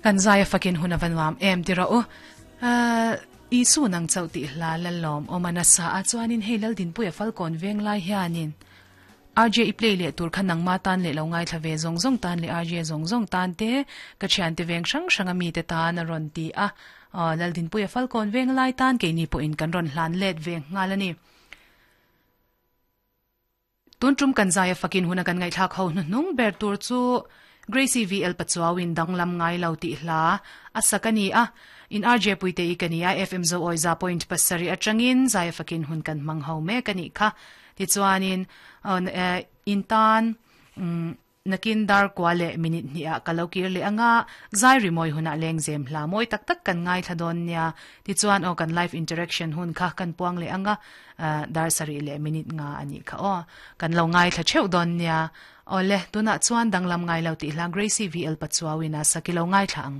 Kan zai a fakin hun a va nuam em ti rawh u. Isu nang chauh tih hla lalawm awm a nasa a chuanin hei Laldinpuia Falkawn veng lai hianin RJ i play leh tur kha nangma tan leh lo ngaithla ve zawng zawng tan leh RJ zawng zawng tan te ka thiante veng hrang hrang a mite tan a rawn ti a. Laldinpuia Falkawn veng lai tan keini pawhin kan rawn hlan let ve nghal a ni. Tun tum kan zai a fakin huna kan ngaihthlak ho hnuhnung ber tur chu Gracie VL Pachuau in danglam ngai lo tih hla a sak a ni a. In RJ Puite i ka ni a, FM Zoawi za point pasarih atangin zai a fakin hun kan hmang ho mek a nih kha. Tichuanin in tan Nakin dar kua leh minute hnihah ka lo kir leh anga, zai rimawi hunah lengzem hla mawi tak tak kan ngaithla dawn nia. Tichuan aw kan live interaction hun kha kan puang leh anga, dar sarih leh minute nga a nih kha aw. Kan lo ngaithla theuh dawn nia. Awle, tunah chuan danglam ngai lo tih hla Gracie VL Pachuau in a sak i lo ngaithla ang.